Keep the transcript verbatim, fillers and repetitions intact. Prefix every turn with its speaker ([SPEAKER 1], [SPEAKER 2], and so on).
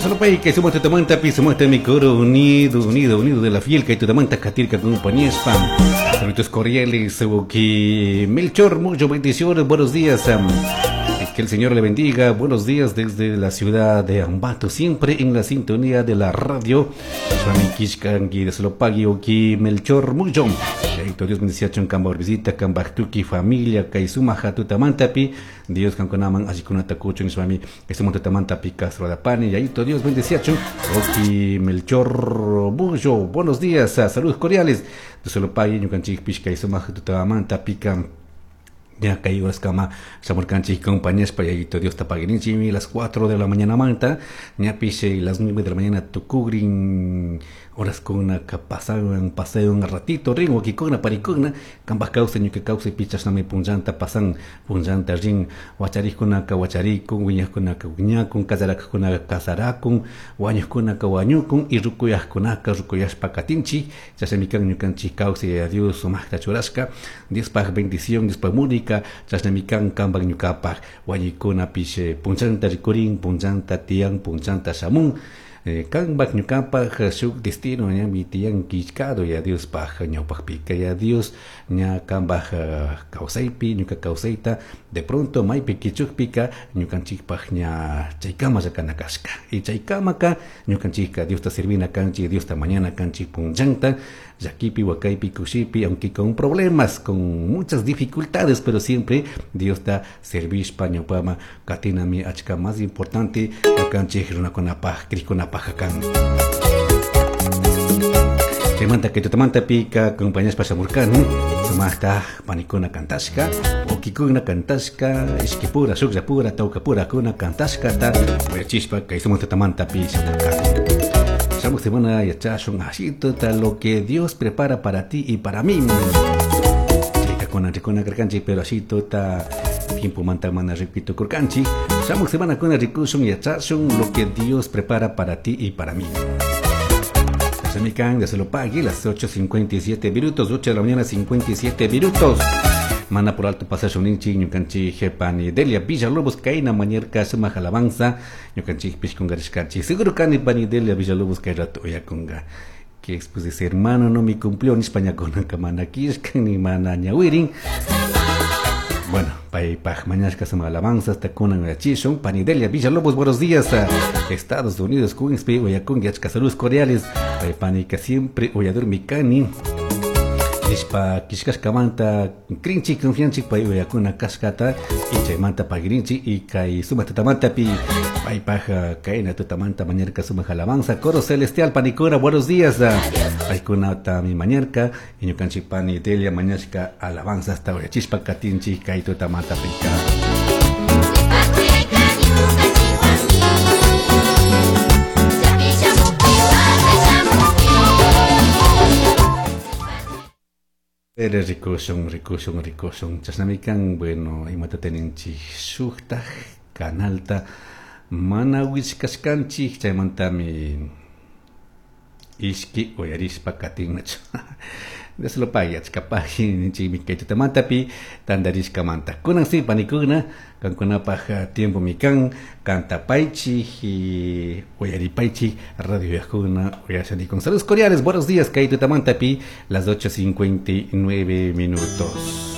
[SPEAKER 1] Solo pay que somos tutamanta pi somos mi coro unido, unido, unido de la fiel que tutamanta katirka compañía spam. Saludos cordiales, que Melchor, mucho bendiciones, buenos días. Que el Señor le bendiga. Buenos días desde la ciudad de Ambato, siempre en la sintonía de la radio. Melchor Mucho. Dios bendice a Kamba visita, Kamba Tuki familia, Kaisuma Hatutamantapi. Dios kankunaman asikunata kuchun Swami, Esumontamantapi Castro de Pani. Yaito Dios bendice a Oki Melchor Mucho. Buenos días, saludos cordiales. Dios lo pague, Ñukanchik Pishka Isuma Hatutamantapi. Ya caí horas cama, Samurcanchi, compañías para Dios tapaguirinchi, las cuatro de la mañana manta, ña piche las nueve de la mañana tucugrin, horas con una pasaban paseo un ratito, ringo kikuna parikuna, kambas causa ñuque causa pichas name punjanta pasan, punjanta rin, huacharikuna kawacharikun, wiñakuna kawiñakun, kazarakuna kazarakun, wañukuna kawañukun, y rukuyaskunaka rukuyaspa katinchi, chasamikan ñukanchi causa y a Dios sumajta churashka, Dios paj bendición, Dios paj múnica, chasnamikan kamban ñukapaj wañikuna piche punchanta rikurin punchanta tiyan punchanta shamun kanbak ñukapaj shuk destino ña mi tiyan killkado ya Dios paj ñawpajpika ya Dios ña kambaj kawsaypi ñuka kawsayta de pronto maypi kichukpika ñukanchikpaj ña chaykama llakana kashka y chaykamaka ñukanchikka Diosta servina kanchik Diosta mañana kanchik punchanta llakipi wakaypi kushipi aunque con problemas con muchas dificultades pero siempre Diosta servishpa ñawpama katinami achka más importante ñukanchik runakunapaj krikunapaj pajakan. Chaymanta kay tutamanta pika compañías pashamurkani sumaqta panikuna kantashka ukikuna kantashka ishkipura shukllapura tawkapura kuna kantashkata uyachispa kay sumaq tutamanta pi shamurkani. Shamuq semana yachashun ashituta lo que Dios prepara para ti y para mí. Chaytakuna rikuna karkanchik pero ashituta tiempo manta mana repito kurkanchik. Shamuq semana kuna rikushun yachashun lo que Dios prepara para ti y para mí. Semican de Celopagui, las ocho cincuenta y siete minutos, ocho de la mañana cincuenta y siete minutos. Mana por alto pasaje ninchi, ñukanchi jepani Delia Villalobos, kaina mañerka suma alabanza, ñukanchi pishkungarishkanchi. Seguro kani pani Delia Villalobos kay rato oyakunga. Que después de ser hermano no me cumplió ni España con kamana kishkan ni mana ñawirin. Bueno, pay paj mañashka suma alabanza hasta kunan yachishun Panidelia Villalobos, buenos días a Estados Unidos, Queenspe, oyakun yachka saludos cordiales. Pay panika siempre oyador mikani. Ishpa kishkashkamanta krinchi confianchi pay oyakuna kashkata y chaymanta pagrinchi y kay suma tatamanta pi pay paja kayna tutamanta mañarka suma alabanza coro celestial panikuna buenos días paykuna ta mi mañarka y ñukanchi Panidelia mañashka alabanza hasta oyachispa katinchi kay tutamanta pika. Eres ricoson, ricoson, ricoson. Chasnamikan, bueno, imata teninchi shuktaj kanalta mana wichkashkanchik chaymantami ishki uyarishpa katinnachu. Dios lo pague, achkapaj ninchikmi kay tutamantapi tantarishkamanta. Kunan si panikuna, kankunapaj tiempo mikan, kantapaychik y uyaripaychik radio yajuna uyashani con saludos cordiales, buenos días kay tutamantapi, las ocho cincuenta y nueve minutos.